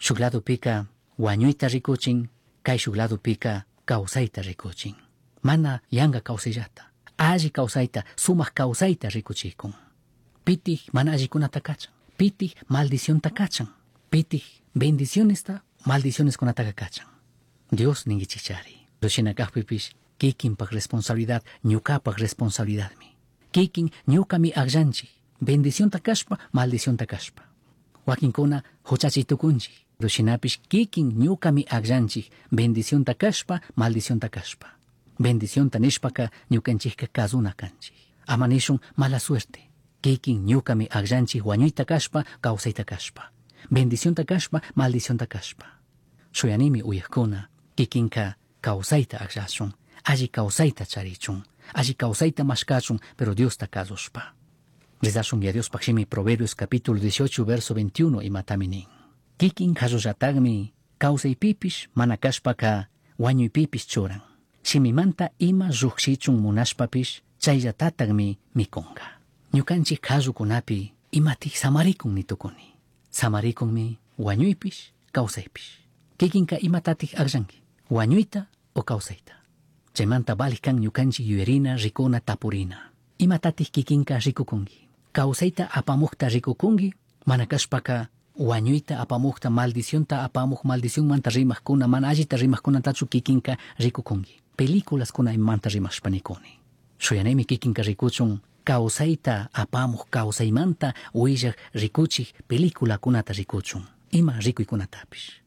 Shuk ladopika wañuyta rikuchin, kayshuk ladopika kawsayta rikuchin. Mana yanka kawsayllata, alli kawsayta, sumak kawsayta rikuchikun. Pitik mana allikunata kachan, pitik maldicionta kachan, pitik bendicionesta maldicioneskunataka kachan. Dios ninkichikchari. Shina kakpipish kikinpak responsabilidad, ñukapak responsabilidadmi. Kikin ñukami akllanchik, bendicionta kashpa, maldicionta kashpa. Wakinkuna huchachi tukunchik. Shinapish kikin ñukami akllanchik, bendicionta kashpa, maldicionta kashpa. Bendicionta nishpaka ñukanchikka kazuna kanchik. Ama nishun mala suerte. Kikin ñukami akllanchik wañuyta kashpa, kawsayta kashpa. Bendicionta kashpa, maldicionta kashpa. Shuyanimi uyakuna, kikinka kawsayta akllashun, alli kawsayta charichun, alli kawsayta mashkachun, pero Diosta kasushpa. Rezashun ya Diospaq shimi Proverbios capítulo 18, verso 21 imatami nin. Kikin qallullatakmi kawsaypipish mana kashpaka wañuypipish churan. Shimimanta ima llukshichun munashpapish chayllatatakmi mikunka. Ñukanchik qallukunapi imatik samarikun nitukuni. Samarikunmi wañuypish kawsaypish. Kikinka imatatik akllanki, wañuyta o kawsayta. Chaymanta valik kan ñukanchik yuyarina, rikuna, tapurina. Imatatik kikinka rikukunki. Kawsayta apamukta rikukunki, mana kashpaka wañuyta apamukta, maldicionta apamuk, maldicionmanta rimaqkuna, mana allita rimaqkunatachu kikinka rikukunki. Películaskuna imamanta rimashpa nikuni. Shuyanimi kikinka rikuchun kawsayta apamuk, kawsaymanta willak rikuchik peliculakunata rikuchun. Ima rikuykunatapish.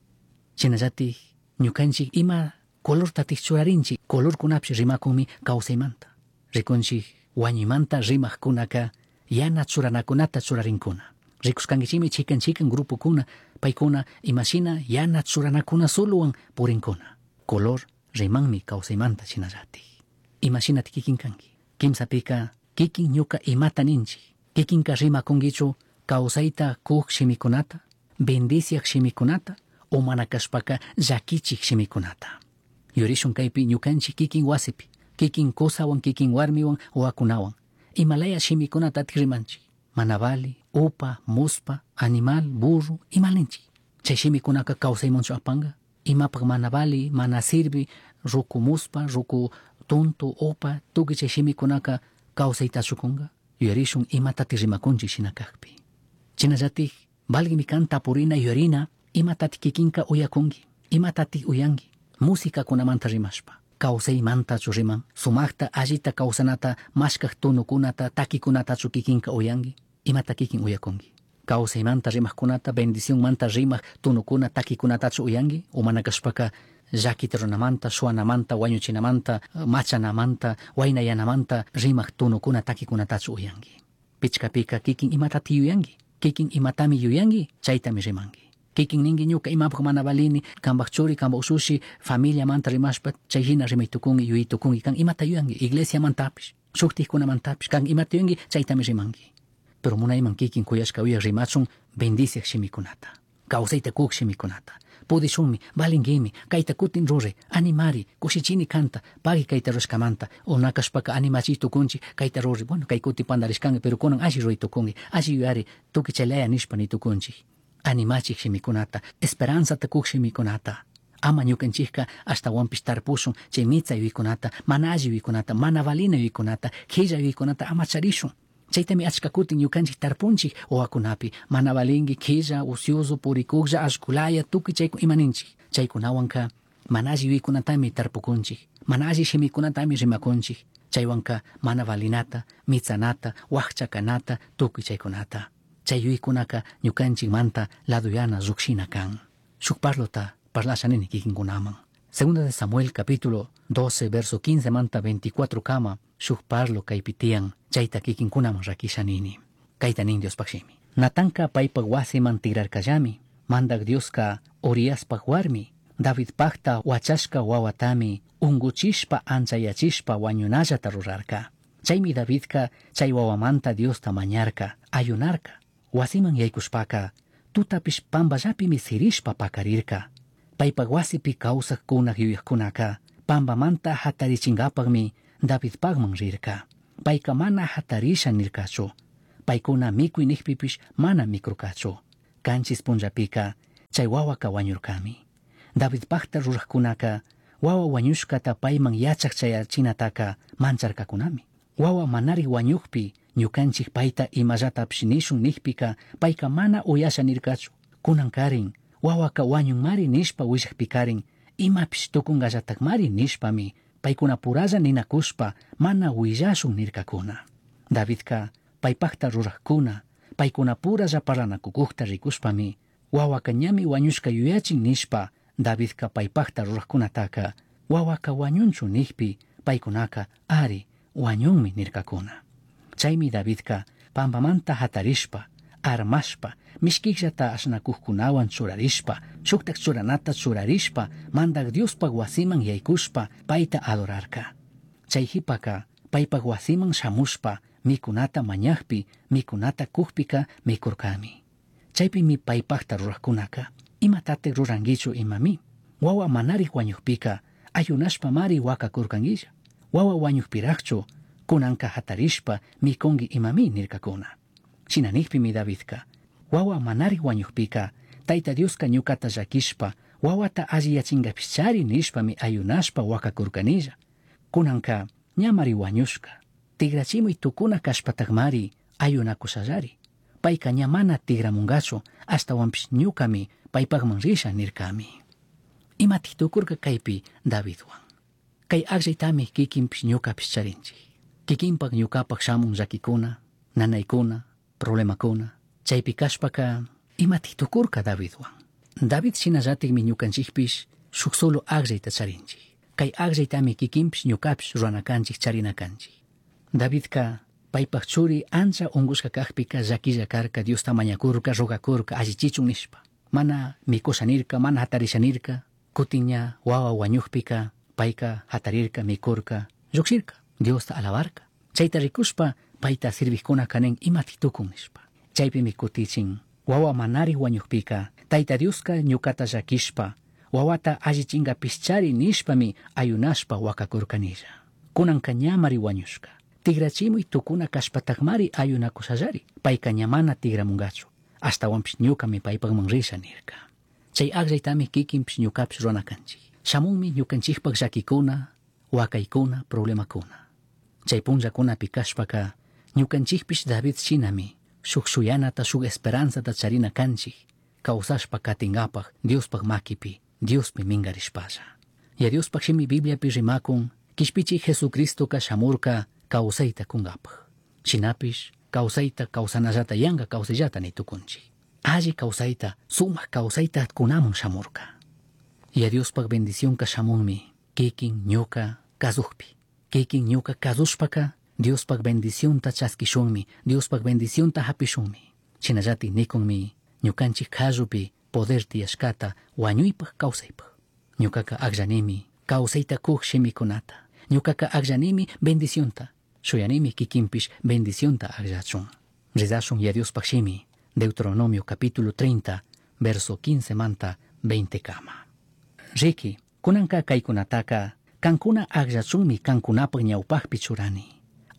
Shinallatik ñukanchik ima colortatik churarinchik, colorkunapish rimakunmi kawsaymanta. Rikunchik wañuymanta rimaqkunaka yana churanakunata churarinkuna. Rikushkankichikmi chikan chikan grupokuna, paykuna imashina yana churanakuna solowan purinkuna. Color rimanmi kawsaymanta shinallatik. Imashinati kikin kanki. Kimsapika kikin ñuka imata ninchik. Kikinka rimakunkichu kawsayta kuk shimikunata, bendiciak shimikunata, o mana kashpaka llakichik shimikunata. Yurishun kaypi ñukanchik kikin wasipi, kikin kusawan, kikin warmiwan, wawakunawan. Imalaya shimikunatatik rimanchik. Mana vali, upa, muspa, animal, burro, imalinchik. Chay shimikunaka kawsaymanchu apanka. Imapak mana vali, mana sirvi, ruku muspa, ruku tonto, upa, tukuy chay shimikunaka kawsaytachu kunka. Yuyarishun imatatik rimakunchik shina kakpi. Shinallatik valgimi kan tapurina yuyarina imatatik kikinka uyakunki, imatatik uyanki. Musikakunamanta rimashpa, kawsaymantachu riman, sumakta allita kawsanata mashkak tunukunata, takikunatachu kikinka uyanki, imata kikin uyakunki. Kawsaymanta rimaqkunata, bendicionmanta rimaq tunukuna, takikunatachu uyanki, o mana kashpaka llakita runamanta, shuanamanta, wañuchinamanta, machanamanta, waynayanamanta rimaq tunukuna, takikunatachu uyanki. Pichkapika kikin imatati yuyanki, kikin imatami yuyanki, chaytami rimanki. Kikin ninki ñuka imapak mana valini, kanpak churi, kanpak ushushi, familiamanta rimashpa, chay hina rimaytukunki, yuyaytukunki, kan imata yuyanki, iglesiamantapish, shuktikkunamantapish, kan imata yuyanki, chaytami rimanki. Pero munayman kikin kuyashka uyak rimachun bendiciak shimikunata, kawsayta kuk shimikunata. Pudishunmi, valinkimi, kayta kutin ruray, animari, kushichini kanta, pagui kayta rurashkamanta, o nakashpaka animachiy tukunchik, kayta ruray, bueno, kay kuti pandarishkanki, pero kunan alli ruray tukunki, alli yuyari, tukuy chaylaya nishpa nitukunchik. Animachik shimikunata, esperanzata kuk shimikunata. Ama ñukanchikka ashtawanpish tarpushun chay mitsa yuyaykunata, mana alli yuyaykunata, mana valina yuyaykunata, qhilla yuyaykunata ama charishun. Chaytami achka kutin ñukanchik tarpunchik wawakunapi, mana valinki, qhilla, ocioso, purikuklla, allkulaya, tukuy chayku imaninchik. Chaykunawanka mana alli yuyaykunatami tarpukunchik, mana alli shimikunatami rimakunchik. Chaywanka mana valinata, mitsanata, wakcha kanata, tukuy chaykunata. Chay yuyaykunaka ñukanchikmanta laduyana llukshina kan. Shuk parlota parlasha nini kikinkunaman. Segunda de Samuel capítulo 12 verso 15 manta 24 kama shuk parlo kaypi tiyan chayta kikinkunaman rakisha nini. Kayta nin Diospaq shimi. Natanka paypak wasiman tigrarkallami. Mandak Dioska Uriaspak warmi Davidpakta wachashka wawatami unguchishpa anchayachishpa wañunallata rurarka. Chaymi Davidka chay wawamanta Diosta mañarka, ayunarka. Wasiman yaykushpaka tutapish pampallapimi sirishpa pakarirka. Paypak wasipi kawsaqkunaq yuyaqkunaka pampamanta hatarichinkapaqmi Davidpaqman rirka. Payka mana hatarisha nirkachu. Paykuna mikuy nikpipish mana mikurkachu. Kanchis punllapika Chai huahuaca huañurcami. Davidpajta rurajcunaca huahua huañushcata paiman yachaj chayachinataca mancharcacunami. Huahua manarij huañujpi ñucanchij paita imallatapish nishun nijpica paica mana uyasha nircachu. Cunancarin huahuaca huañunmari nishpa huillajpicarin imapish tucungallatajmari nishpami paicunapuralla ninacushpa mana huillashun nircacuna. Davidca paipajta rurajcuna paicunapuralla parlanacucujta ricushpami huahuaca ñami huañushca yuyachin nishpa Davidca paipajta rurajcunataca huahuaca huañunchu nijpi paicunaca ari huañunmi nircacuna. Chaimi Davidca pambamanta jatarishpa armashpa mishquijllata ashnacujcunahuan churarishpa shujtaj churanata churarishpa Mandaj Diospaj huasiman yaycushpa paita adorarca. Chai jipaca paipaj huasiman shamushpa micunata mañajpi micunata cujpica micurcami. Chaipimi paipajta rurajcunaca imatataj ruranguichu imami? Huahua manarij huañujpica ayunashpamari huacacurcanguilla. Huahua huañujpirajchu cunanca jatarishpa micungui imami nircacuna. Shina nijpimi Davidca huahua manarij huañujpica Taita Diosca ñucata llaquishpa huahuata alliyachingapishchari nishpami ayunashpa huacacurcanilla. Cunanca ñamari huañushca. Tigrachimuy tucuna cashpatajmari ayunacushallari. Paica ña mana tigramungachu ashtahuanpish ñucami paipajman risha nircami. Imataj tucurca caipi Davidhuan. Cai agllaytami kikinpish ñucapish charinchij. Kikinpak ñucapak shamun llaquicuna, nanaicuna, problemacuna. Chaipi cashpaca imataj tucurca Davidhuan. David shinallatikmi ñucanchikpish shuk solo agllayta charinchik. Cai agllaytami kikinpish ñucapish rurana canchik charina canchik. Davidca paipaj churi ancha ungushka cajpica llaquilla carca Diosta mañacurca, rogacurca, allichichun nishpa. Mana micusha nirca, mana jatarisha nirca, cutin ña huahua huañujpica paica jatarirca, micurca, llujshirca, Diosta alabarca. Chaita ricushpa paita sirvijcunaca nin imataj tucun nishpa. Chaipimi cutichin huahua manarij huañujpica Taita Diosca ñucata llaquishpa huahuata allichingapishchari nishpami ayunashpa huacacurcanilla. Cunanca ñamari huañushca. Tigrachimuy tucuna cashpatajmari ayunacushallari. Paica ña mana tigramungachu. Ashtahuanpish ñucami paipajman risha nirca. Chay agllaytami kikinpish ñucapish rurana canchik. Shamunmi ñucanchikpaj llaquicuna, huacaicuna, problemacuna. Chay punllacunapi cashpaca ñucanchikpish David shinami shuk shuyanata shuk esperanzata charina canchik. Causashpa catingapaj Diospaj maquipi, Diospi mingarishpalla. Yaya Diospaj shimi Bibliapi rimacun, Quishpichij Jesucristoca shamurca causaita cungapaj. Shinapish causaita causanallata yanga causaillata ni tucunchik. Alli causaita, sumaj causaita cunamun shamurca. Yaya Diospaj bendicionca shamunmi kikin ñuca kazujpi. Kikin ñuca kazushpaca Diospaj bendicionta chaskishunmi, Diospaj bendicionta hapishunmi. Shinallatik nikunmi ñukanchik kallupi poder tiyashkata huañuypaj kawsaypaj. Ñucaca agllanimi kawsayta kuj shimikunata. Ñucaca agllanimi bendicionta. Shuyanimi kikinpish bendicionta agllachun. Rezashun Yaya Diospaj shimi, Deuteronomio capítulo 30, verso 15 manta 20 kama. Riqui, kunanka kaykunataka kankuna agllachunmi kankunapaj ñawpajpi churani.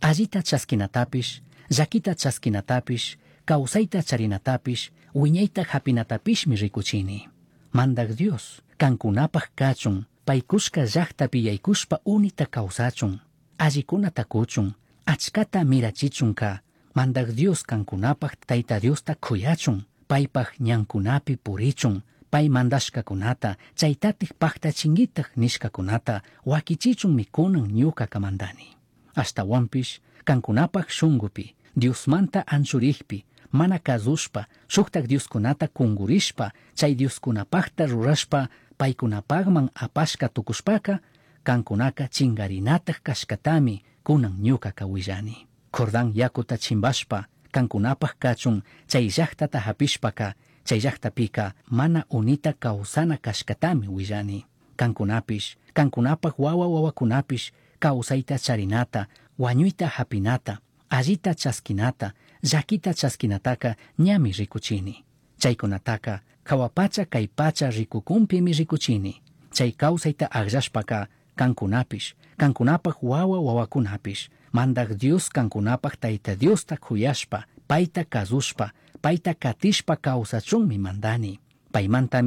Allita chaskinatapish, llaquita chaskinatapish, kawsayta charinatapish, wiñayta hapinatapishmi rikuchini. Mandaj Dios, kankunapaj kachun, paykushka llaktapi yaykushpa unita kawsachun, allikunata kuchun, achkata mirachichunka, Mandaj Dios kankunapaj Tayta Diosta kuyachun, paypaj ñankunapi purichun, pay mandashkakunata, chaytatik paktachinguitaj nishkakunata, wakichichunmi kunan ñuka mandani. Ashtawanpish kankunapaj shungupi, Diosmanta anchurikpi, mana kazushpa, shuktak Dioskunata kungurishpa, chay Dioskunapajta rurashpa, paykunapajman apashka tukushpaka, kankunaka chingarinataj kashkatami kunan ñukaka willani. Jordán yakuta chimbashpa, kankunapaj kachun, chay llaktata hapishpaka, chay llaktapika mana unita kawsana kashkatami willani. Kankunapish, kankunapaj wawa wawakunapish, kawsayta charinata, wañuyta hapinata, allita chaskinata, llakita chaskinataka ñami rikuchini. Chaykunataka jahua pacha kay pacha rikukunpimi rikuchini. Chay kawsayta akllashpaka kankunapish, kankunapaj wawa wawakunapish, Mandaj Dios kankunapaj Tayta Diosta kuyashpa, payta kazushpa, payta katishpa kawsachunmi mandani. Paymantami